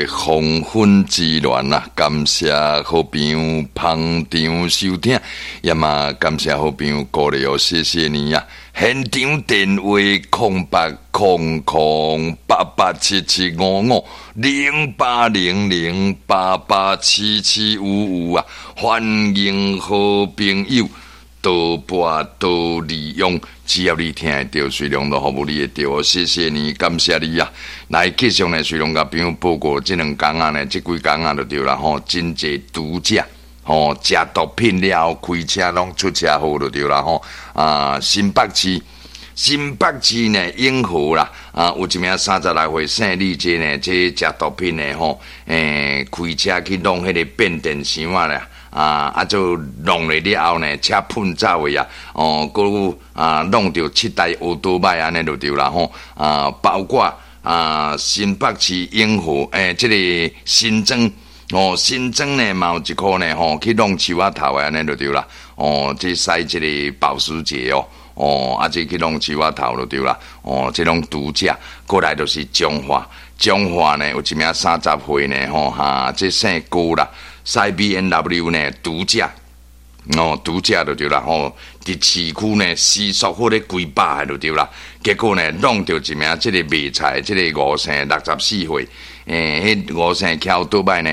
黃昏之戀啊，感謝好朋友捧場收聽，也嘛感謝好朋友鼓勵哦，謝謝你啊！現場電話08008877550800887755啊，歡迎好朋友多撥多利用，只要你聽會著，隨量都服務你會著哦。謝謝你，感謝你啊！來，繼續呢，隨量共朋友報告，這兩工仔呢，這幾工仔就對啦吼，真濟毒駕吼，食毒品了後開車攏出車禍就對啦吼。啊，新北市，新北市呢，永和啦，啊，有一名36歲姓李這呢，這食毒品的吼，開車去弄彼個變電箱仔啦。啊啊！就弄了了後呢，車噴走的啊！哦，閣有啊，弄著七台歐多擺按呢就對啦吼！啊，包括啊，新北市永和這个新莊哦，新莊呢嘛有一箍呢吼，去弄樹仔頭的按呢就對啦！哦，這駛這个保時捷哦，哦，啊，這去弄樹仔頭就對啦！哦，這攏毒駕，過來就是彰化，彰化呢有一名30歲呢吼哈，這姓郭啦。駛 BMW 呢，毒駕，哦，毒駕就對啦吼。佇市區呢，時速好咧幾百就對啦。結果呢，弄著一名這个賣菜，這个吳姓64歲，彼吳姓騎歐多擺呢，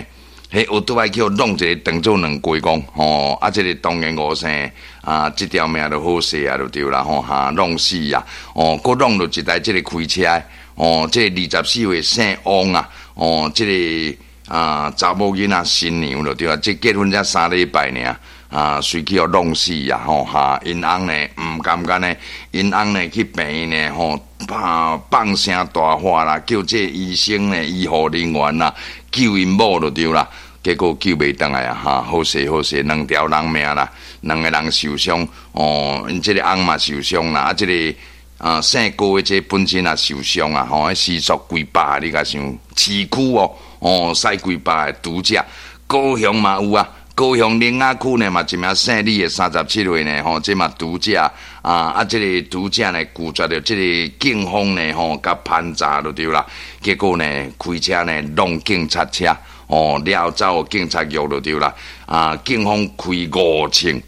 彼歐多擺去予弄一个當做兩雞公，吼，啊，這个當然吳姓啊，這條命就好勢啊，就對啦吼，哈，弄死啊，哦，閣弄著一台這个開車，哦，這个24歲姓王啊，哦，這个啊，查某囡仔新娘就對啊，這結婚才3禮拜爾，啊，隨去予弄死啊，吼哈！𪜶翁呢，毋甘願呢，𪜶翁呢去病院呢，吼，放聲大喊啦，叫這醫生呢、醫護人員啦，救𪜶某就對啦。結果救袂轉來啊，哈！好勢好勢，兩條人命啦，兩个人受傷，哦，𪜶這个翁嘛受傷啦，啊，這个啊姓郭的這本身也受傷啊，吼，時速幾百，你共想，市區哦。哦，駛幾百的毒駕，高雄嘛有啊，高雄苓仔區呢嘛一名姓李的37歲呢，吼，這嘛毒駕啊啊，這个毒駕呢拒絕著這个警方呢，吼，共盤查就對啦，結果呢開車呢弄警察車，哦，了後走予警察局就對啦，啊，警方開五槍，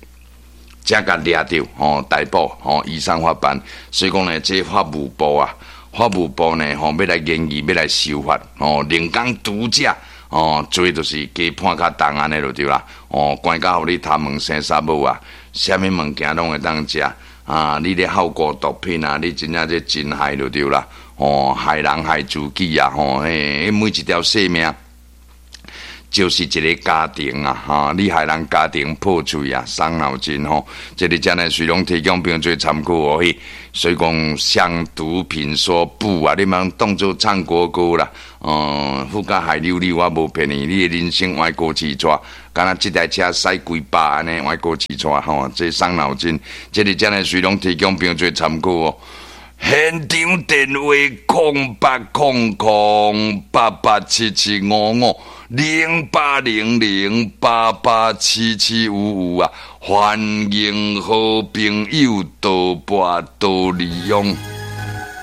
才共掠著，吼，逮捕，吼，移送法辦，所以講呢，這法務部啊。法務部呢，吼，欲來研議，欲來修法，吼，兩工毒駕，哦，罪就是加判較重按呢就對啦，哦，關到予你頭毛生捒母啊，啥物物件攏會當食，啊，你咧好過毒品啊，你真正這真害就對啦，哦，害人害自己啊，吼，嘿，每一條性命就是一个家庭啊，哈！你害人家庭破碎啊，傷腦筋吼。這个遮呢，隨攏提供朋友做參考哦。嘿，所以講向毒品說不啊！你莫當做唱國歌啦，哦，富甲害溜溜，我無騙你，你的人生歪過去逝，敢若這台車駛幾百按呢，歪過去逝吼，這傷腦筋。這个遮呢，隨攏提供朋友做參考哦。現場電話08008877550800887755啊！歡迎好朋友多撥多利用。